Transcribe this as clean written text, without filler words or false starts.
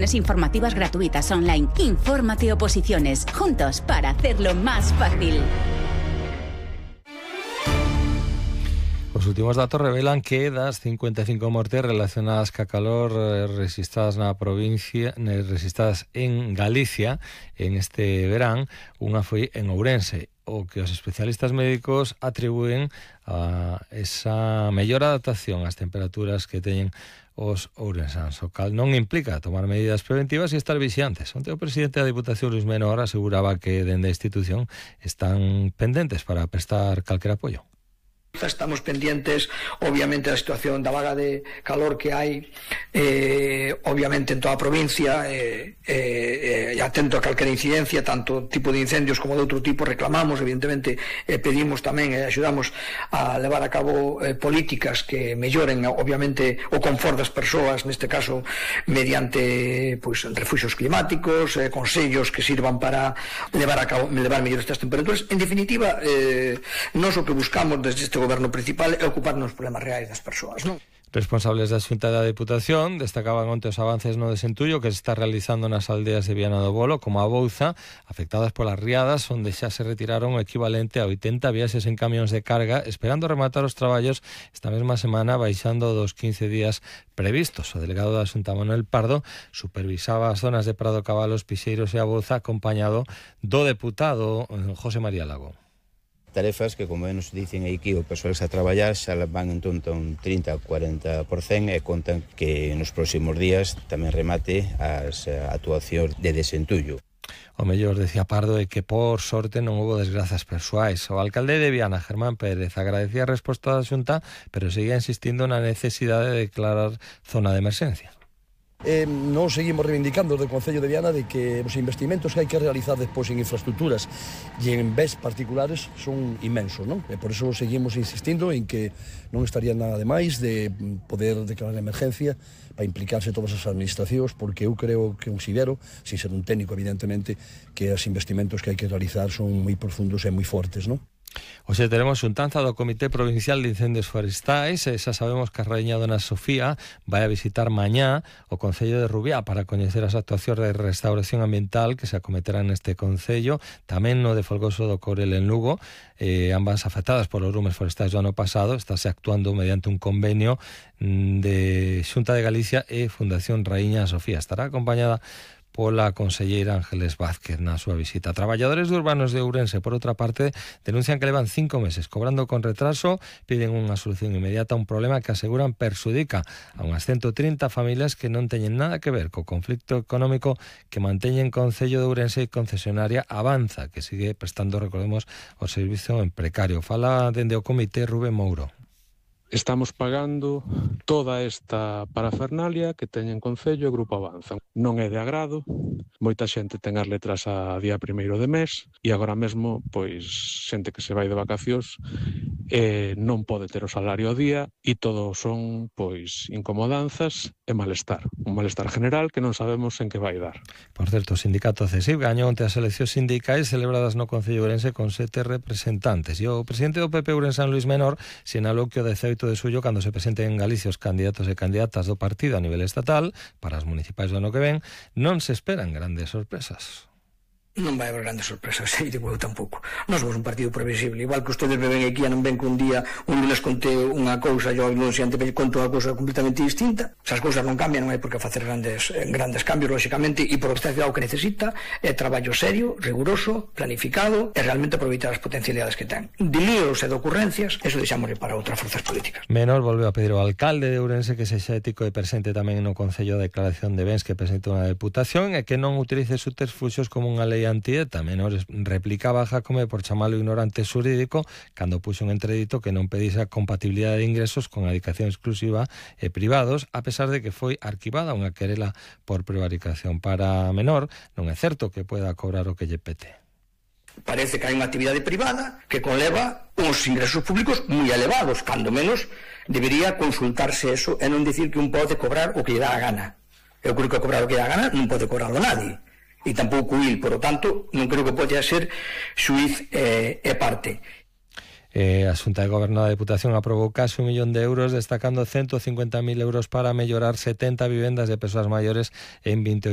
Informativas gratuitas online. Infórmate Oposiciones. Juntos para hacerlo más fácil. Os últimos datos revelan que das 55 mortes relacionadas ca calor registradas na provincia, registradas en Galicia en este verán, unha foi en Ourense. O que os especialistas médicos atribúen a esa mellor adaptación ás temperaturas que teñen os ourensáns, o cal non implica tomar medidas preventivas e estar vixiantes. Onte o presidente da Diputación, Luis Menor, aseguraba que dende a institución están pendentes para prestar calquer apoio. Estamos pendientes, obviamente, da situación da vaga de calor que hai, obviamente, en toda a provincia, atento a calquera incidencia, tanto tipo de incendios como de outro tipo. Reclamamos, evidentemente, pedimos tamén e axudamos a levar a cabo políticas que melloren, obviamente, o confort das persoas, neste caso, mediante refuxios climáticos, consellos que sirvan para levar mellor estas temperaturas. En definitiva, nós o que buscamos desde este goberno principal é ocuparnos dos problemas reais das persoas, non? Responsables da Xunta da Deputación destacaban onte os avances no desentullo que se está realizando nas aldeas de Viana do Bolo, como a Bouza, afectadas polas riadas, onde xa se retiraron o equivalente a 80 viaxes en camións de carga, esperando rematar os traballos esta mesma semana, baixando dos 15 días previstos. O delegado da Xunta, Manuel Pardo, supervisaba as zonas de Prado Cabalos, Pixeiros e a Bouza, acompañado do deputado José María Lago. Tarefas que, como nos dicen aquí o persoal que está a traballar, xa van en torno a un 30-40% e contan que nos próximos días tamén remate as actuacións de desentullo. O mellor, decía Pardo, é que por sorte non houve desgrazas persoais. O alcalde de Viana, Germán Pérez, agradecía a resposta da Xunta, pero seguía insistindo na necesidade de declarar zona de emerxencia. Nós seguimos reivindicando do Concello de Viana de que os investimentos que hai que realizar despois en infraestructuras e en bens particulares son inmensos, non? E por iso seguimos insistindo en que non estaría nada de máis de poder declarar emergencia para implicarse todas as administracións, porque eu creo que considero, sin ser un técnico evidentemente, que os investimentos que hai que realizar son moi profundos e moi fortes, non? Hoxe teremos xuntanza do Comité Provincial de Incendios Forestais e xa sabemos que a raíña Dona Sofía vai a visitar mañá o Concello de Rubiá para coñecer as actuacións de restauración ambiental que se acometerán neste Concello, tamén no de Folgoso do Courel en Lugo, ambas afectadas polos lumes forestais do ano pasado. Estáse actuando mediante un convenio de Xunta de Galicia e Fundación Raíña Sofía. Estará acompañada pola conselleira Ángeles Vázquez na súa visita. Traballadores de urbanos de Ourense, por outra parte, denuncian que levan 5 meses cobrando con retraso, piden unha solución inmediata a un problema que aseguran perxudica a unhas 130 familias que non teñen nada que ver co conflicto económico que manteñen Concello de Ourense e concesionaria Avanza, que sigue prestando, recordemos, o servizo en precario. Fala dende o comité Rubén Mouro. Estamos pagando toda esta parafernalia que teñen Concello e Grupo Avanza. Non é de agrado, moita xente ten as letras a día 1º de mes e agora mesmo, pois, xente que se vai de vacacións non pode ter o salario ao día e todo son, pois, incomodanzas e malestar. Un malestar general que non sabemos en que vai dar. Por certo, o sindicato CESIF gañou onte as eleccións sindicais celebradas no Concello Ourense con 7 representantes. E o presidente do PP ourensán, Luis Menor, sinalou que o 18 de suyo, cando se presenten en Galicia os candidatos e candidatas do partido a nivel estatal para as municipais do ano que ven, non se esperan grandes sorpresas. Non vai haber grandes sorpresas, e digo eu tampouco. Nós somos un partido previsible, igual que ustedes me ven aquí e non ven que un día les conté unha cousa e no siguiente me conto unha cousa completamente distinta. Se as cousas non cambian, non hai por que facer grandes cambios, lógicamente, e por que o que necesita é traballo serio, riguroso, planificado e realmente aproveitar as potencialidades que ten. De líos e de ocurrencias, eso deixámosle para outras forzas políticas. Menor volveu a pedir ao alcalde de Ourense que sexa ético e presente tamén no Concello de Declaración de Bens que presente unha deputación e que non utilice subterfuxios como unha lei antieta. Menor replicaba a Jacome por chamalo ignorante xurídico cando puxo en entredito que non pedise a compatibilidade de ingresos con a dedicación exclusiva e privados, a pesar de que foi arquivada unha querela por prevaricación. Para Menor, non é certo que pueda cobrar o que lle pete. Parece que hai unha actividade privada que conleva uns ingresos públicos moi elevados, cando menos debería consultarse eso e non dicir que un pode cobrar o que lle dá a gana. Eu creo que cobrar o que lle dá a gana non pode cobrarlo nadie. E tampouco il, por lo tanto, non creo que poida ser xuiz e parte. A Xunta de Goberno da Deputación aprobou case 1 millón de euros, destacando 150.000 euros para mellorar 70 vivendas de persoas maiores en 28